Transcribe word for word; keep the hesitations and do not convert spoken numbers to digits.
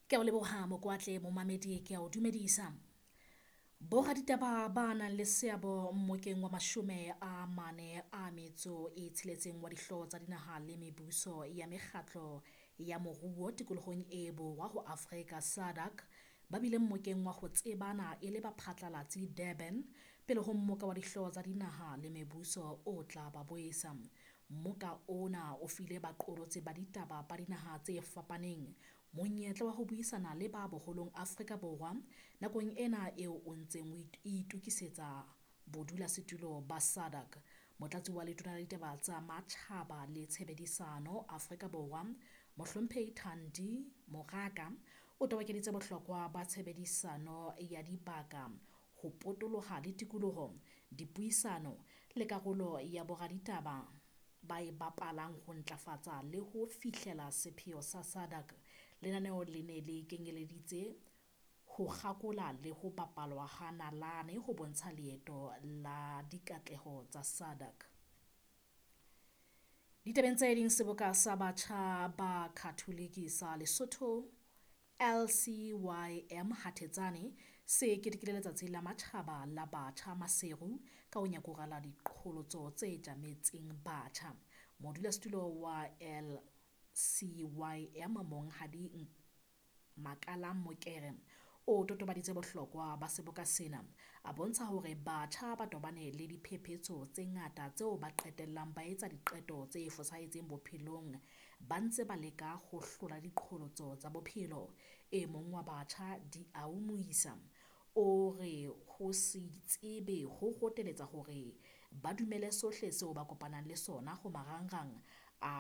Ke a o leboha Mokwatle momamedi ke a o dumedisa. Boraditaba ba nang le seabo mmokeng wa mashome a mane a metso e tsheletseng wa dihlooho tsa dinaha le mebuso ya mekgatlo ya moruo tikolohong e borwa ho Afrika SADC ba bile mmokeng wa ho tsebana e le baphatlalatsi Durban pele ho mmoka wa dihlooho tsa dinaha le mebuso o tla ba boesa. Mmoka ona o file baqolotsi ba ditaba ba dinaha tse fapaneng monyetla wa ho buisana le ba boholong Afrika Borwa nakong ena eo o ntseng o itokisetsa bodulasetulo ba SADC. Motlatsi wa Letona la Ditaba tsa Matjhaba le Tshebedisano Afrika Borwa, Mohlomphehi Thandi Moraka, o tobokeditse bohlokwa ba tshebedisano ya dibaka ho potoloha le tikoloho, dipuisano le karolo ya boraditaba ba e bapalang ho ntlafatsa le ho fihlela sepheo sa SADC. Lenaneo le ne le kenyeleditse ho kgakola le ho bapalwa ha nalane ho bontsha leeto la dikatleho tsa SADC. Ditabeng tse ding, seboka sa batjha ba Khatholike sa Lesotho L C Y M Hathetsane se ketekile letsatsi la matjhaba la batjha Maseru ka ho nyakurela diqholotso tse tjametseng batjha. Modulasetulo wa L C Y M Monghadi Makalang Mokere o totobaditse bohlokwa ba seboka sena, a bontsha hore batjha ba tobane le diphephetso tse ngata tseo ba qetellang ba etsa diqeto tse fosahetseng bophelong ba ntse ba leka ho hlola diqholotso tsa bophelo. E mong wa batjha Diau Moisa o re ho se itsebe ho roteletsa hore ba dumele sohle seo ba kopanang le sona ho marangrang